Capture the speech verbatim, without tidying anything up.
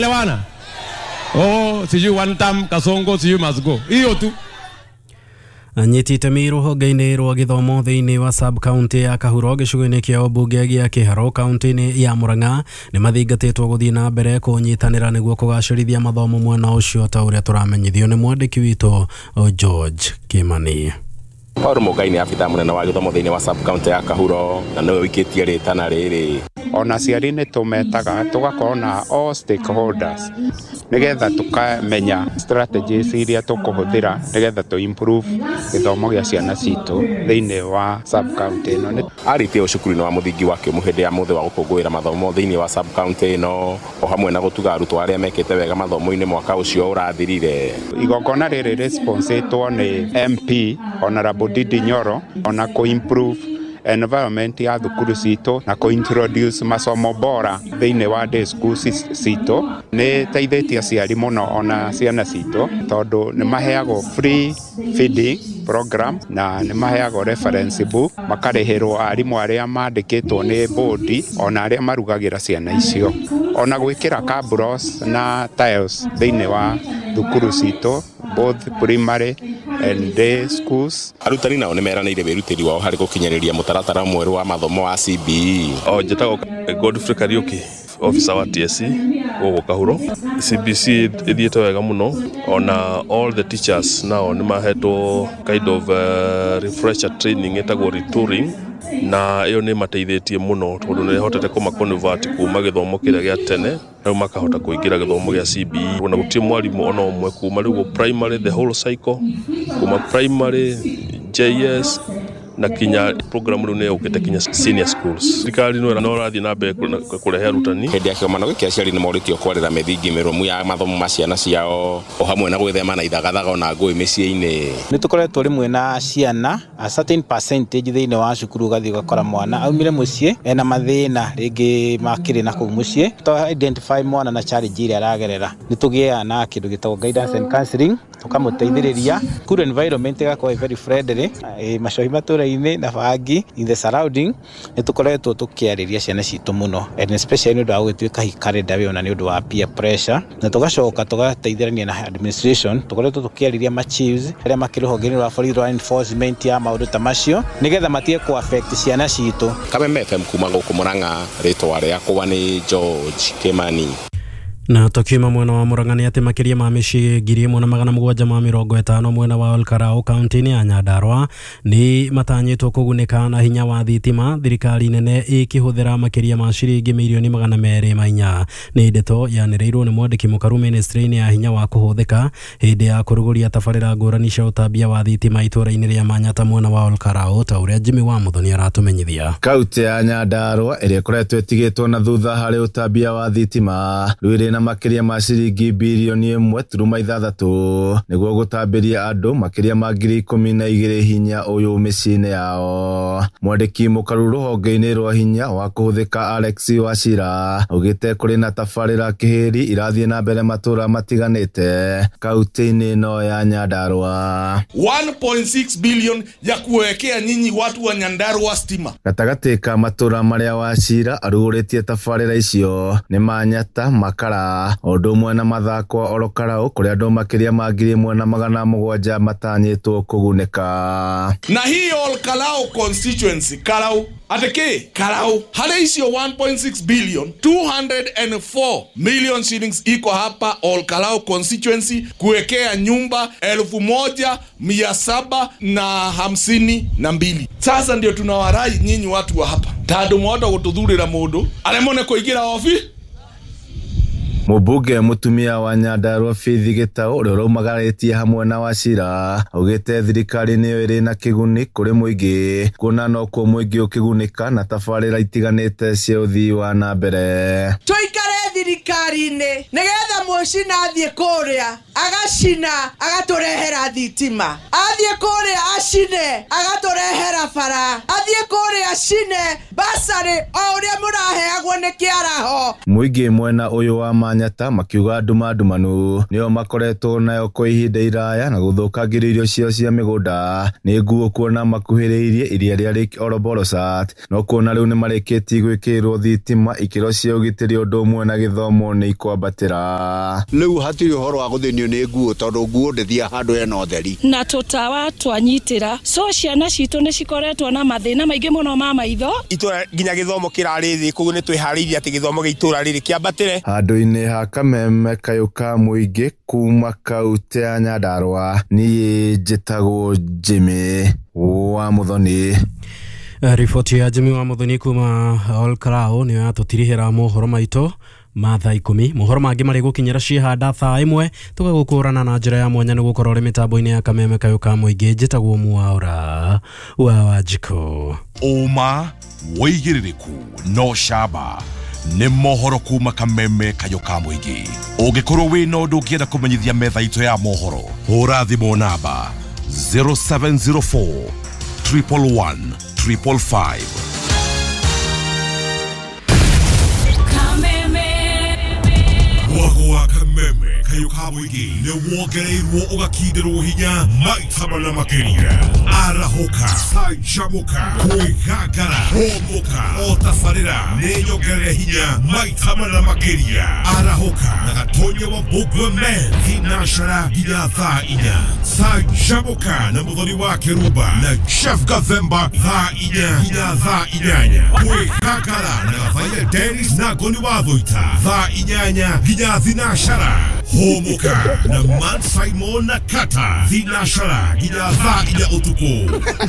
Tunaelewana? Oh, sijui one time Kasongo, sijui must go. Hiyo tu. Anyiti itemi rũhonge-inĩ rwa gĩthomo thĩinĩ wa sub county ya Kahuro gĩcigo-inĩ kĩa ũmbunge gĩa Kĩharũ kaunti-inĩ ya Murang'a nĩ mathingatĩtwo gũthiĩ na mbere kũnyitanĩra nĩguo kũgacĩrithia mathomo mwena ũcio ta ũrĩa tũramenyithio nĩ mwandĩki witũ George Kimani. Paul Mugai nĩ abithaa mũnene wa gĩthomo thĩinĩ wa sub county ya Kahuro na nĩwe ũikĩtie rĩtana rĩrĩ. Ona aciari nĩ tũmetaga tũgakorwo na all stakeholders nĩgetha tũkamenya strategies iria tũkũhũthĩra nĩgetha tũ improve gĩthomo gĩa ciana citũ thĩinĩ wa sub county ĩno. Arĩtie cukuru-inĩ wa mũthingi wa Kĩũmũ hĩndĩ ya mũthĩ wa gũkũngũĩra mathomo thĩinĩ wa sub county ĩno o hamwe na gũtuga arutwo arĩa mekĩte wega mathomo-inĩ mwaka ũcio ũrathirire. Igongona rĩrĩ rĩsponsetwo nĩ M P Honorable Ndindi Nyoro ona kũ improve environment ya thukuru citũ na kũ introduce masomo bora thĩinĩ wa day school citũ. Nĩ teithĩtie aciari mũno ona ciana citũ tondũ nĩ maheagwo free feeding program na nĩ maheagwo reference book, makarĩhĩrwo arimũ arĩa mandĩkĩtwo nĩ bodi ona arĩa marugagĩra ciana icio, ona gwĩkĩra cabros na tiles thĩinĩ wa thukuru citũ both primary and day schools. Arutani nao nĩ meranĩire wĩrutĩri wao harĩ gũkinyĩrĩria mũtaratara mwerũ wa mathomo wa C B E. O njĩtagwo Godfrey Kariuki, officer wa T S C gũkũ Kahuro. C B C ĩthiĩte wega mũno, ona all the teachers nao nĩ mahetwo kind of uh, refresher training ĩtagwo retooling, na ĩyo nĩ mateithĩtie mũno tondũ nĩ ĩhotete kũma convert kuma gĩthomo kĩrĩa gĩa tene rĩu makahota kũingĩra gĩthomo gĩa C B E. Ona gũtirĩ mwarimũ ona ũmwe kuma rĩu primary the whole cycle, kuma primary J S na kinya program rĩu nĩ yũkĩte kinya senior schools. Thirikari no ĩrathiĩ na mbere kũrehe arutani. Hĩndĩ ya kĩgomano gĩkĩ aciari nĩ morĩtio kwarĩra mĩthingi mĩrũmu ya mathomo ma ciana ciao o hamwe na gwĩthema na ithagathaga ona ngũĩ mĩciĩ-inĩ. Nĩ tũkoretwo rĩmwe na ciana a certain percentage thĩinĩ wa cukuru ũgathiĩ ũgakora mwana aumire mũciĩ ena mathĩna rĩngĩ makĩrĩ na kũu mũciĩ. To identify mwana na challenge ĩrĩa aragerera nĩ tũgĩaga na kĩndũ gĩtagwo guidance and counseling tũkamũteithĩrĩria. School environment ĩgakorwo very friendly, macohi matũra na bangi in the surrounding. Nĩ tũkoretwo tũkĩarĩria ciana citũ mũno and especially nĩ ũndũ wa gũgĩtuĩka hikarenda wĩ ona nĩ ũndũ wa peer pressure, na tũgacoka tũgateithĩrania na administration. Tũkoretwo tũkĩarĩria ma chiefs arĩa makĩrĩ rũhonge-inĩ rwa borithi rwa enforcement ya maũndũ ta macio nĩgetha matige kũ affect ciana citũ. Kameme F M kuma gũkũ Murang'a, rĩtwa rĩakwa nĩ George Kimani. Na tukiuma mwena wa Murang'a nĩ atĩ makĩria ma mĩciĩ ngiri ĩmwe na magana mũgwanja ma mĩrongo ĩtano mwena wa Olkarau kaunti-inĩ ya Nyandarua nĩ matanyĩtwo kũgunĩka na hinya wa thitima thirikari nene ĩkĩhũthĩra makĩria ma ciringi mirioni magana merĩ ma inya. Nĩ ndeto yanĩrĩirwo nĩ mwandĩki mũkaru ministry-inĩ ya hinya wa kũhũthĩka hĩndĩ ya kũrugũria tabarĩra ngũrani cia ũtambia wa thitima itũũra-inĩ rĩa Manyata mwena wa Olkarau ta ũrĩa Jimmy wa Muthoni aratũmenyithia. Kaunti ya Nyandarua ĩrĩa ĩkoretwo ĩtigĩtwo na thutha harĩ ũtambia wa thitima rĩu na makĩria ma ciringi bilioni ĩmwe turuma ithathatũ nĩguo gũtambĩria andũ makĩria ma ngiri ikũmi na igĩrĩ hinya ũyũ mĩciĩ-inĩ yao. Mwandĩki mũkaru rũhonge-inĩ rwa hinya wa kũhũthĩka Alex Wachira augĩte kũrĩ na tabarĩra kĩhĩri irathiĩ na mbere matũũra matiganĩte kaunti-inĩ ĩno ya Nyandarua. one point six billion ya kuwekea nyinyi watu wa Nyandarua stima. Gatagatĩ ka matũũra marĩa Wachira arugũrĩtie tabarĩra icio nĩ Manyata, Makara ũndũ ũmwe na Mathakwa Olokarau kũrĩa andũ makĩria ma ngiri ĩmwe na magana mũgwanja matanyĩtwo kũgunĩka. Na hii Olkalau constituency Karau ateke Karau harĩ icio one point six billion two hundred and four million shillings iko hapa Olkalau constituency kuwekea nyumba elfu moja mia saba na hamsini na mbili. Sasa ndio tunawarai nyinyi watu wa hapa tondũ mwahota gũtũthurĩra mũndũ aremwo kũingĩra obi. Mũmbunge mũtumia wa Nyandarua Faith Gĩtaũ ũrĩa ũraumagarĩtie hamwe na Wachira augĩte thirikari nĩyo ĩrĩ na kĩguni kũrĩ mũingĩ kuona nokuo mũingĩ ũkĩgunĩka na tabarĩra itiganĩte cia ũthii wa na mbere. Tũikare thirikari-inĩ nĩgetha mũcina athiĩ kũrĩa Agacina agatũrehera thitima, athiĩ kũrĩa acine agatũrehera bara, athiĩ kũrĩa acine basarĩ o ũrĩa mũraheagwo nĩ kĩaraho. Mũingĩ mwena ũyũ wa Manyata makiuga nduma ndumanu nĩo makoretwo nayo kwa ihinda iraya na gũthũkangĩrio irio ciao cia mĩgũnda nĩ nguo kuona makuhĩrĩirie iria rĩa Lake Oroborosat no kuona rĩu nĩmarĩkĩtie gwĩkĩrĩrwo thitima ikĩro cia ũgitĩri ũndũ ũmwe na gĩthomo nĩ ikwambatĩra. Rĩu hatirĩ ũhoro wa gũthĩnio nĩ nguo tondũ nguo ndĩthiaga handũ hena ũtheri na tũtawa twanyitĩra, so ciana citũ nĩ cikoretwo na mathĩna maingĩ mũno ma maitho. Itũra nginya gĩthomo kĩrarĩ thĩ, koguo nĩ twĩharĩirie atĩ gĩthomo gĩa itũra rĩrĩ kĩambatĩre. Handũ-inĩ ha Kameme kayũ ka mũingĩ kuma kaunti ya Nyandarua, niĩ njĩtagwo Jimmy wa Muthoni. Riboti ya Jimmy wa Muthoni kuma Olkarau nĩyo yatũtirihĩra mohoro maitũ ma thaa ikũmi. Mohoro mangĩ marĩ gũkinyĩra ciĩhanda thaa ĩmwe tũgagũkũrana na njĩra ya mwanya nĩ gũkorwo ũrĩ mĩtambo-inĩ ya Kameme kayũ ka mũingĩ. Njĩtagwo Mwaura wa Wanjikũ. Ũma wĩigĩrĩrĩku no camba nĩ mohoro kuma Kameme kayũ ka mũingĩ. Ũngĩkorwo wĩna ũndũ ũngĩenda kũmenyithia metha itũ ya mohoro, hũra thimũ namba zero seven zero four triple one triple five. Mwago wa Kameme kayũ ka mũingĩ nĩ wongereirwo ũgakindĩrwo hinya maita mana makĩria. Arahũka, canjamũka, kwĩgangara, hũmũka, o tabarĩra nĩ nyongerere hinya maita mana makĩria. Arahũka na Gatonya wa Mbũgua Men thinashara nginya thaa inya. Canjamũka na Mũthoni wa Kĩrumba na Chef Gathemba thaa inya nginya thaa inyanya. Kwĩgangara na Gathaia Dennis na Ngoni wa Thũita thaa inyanya nginya thinashara. Hũmũka na Man Simon na Kata thinashara nginya thaa inya ũtukũ.